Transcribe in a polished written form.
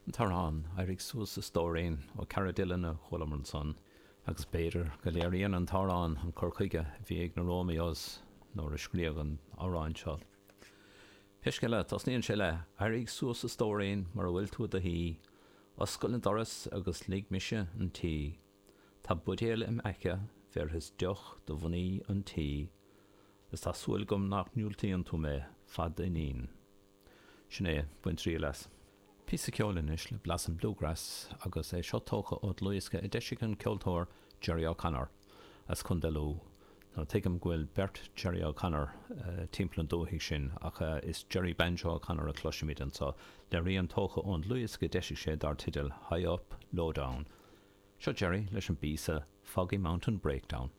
An t-amhrán 'Éirigh Suas a Stóirín' ó Cara Dillon a chualamar ansan agus b'fhéidir go léiríonn an t-amhrán an cur chuige a bhí ag na Romeos nuair a scríodh an amhrán seo. Pé scéal é, tosnaíonn sé le 'Éirigh suas a stóirín mura bhfuil tú i do shuí, oscail an doras agus lig mise 'un tí, tá buidéal im aice bhéarfas deoch do mhnaoi an tí is tá súil agam nach ndiúltaíonn tú mé fad d'iníon. Sin é, bain triail as. Píosa ceoil anois le blas an bluegrass agus é seo tógtha ó dhlúthdhiosca a d'eisigh an ceoltóir Jerry O'Connor as Contae Lú. Now tuigim go bhfuil beirt Jerry O'Connor timpeall an dúthaigh sin ach is Jerry Banjo O'Connor a chloisimid anseo le rian tógtha ón dlúthdhiosca a d'eisigh sé dar teideal High Up, Low Down. Seo Jerry leis an bpíosa Foggy Mountain Breakdown.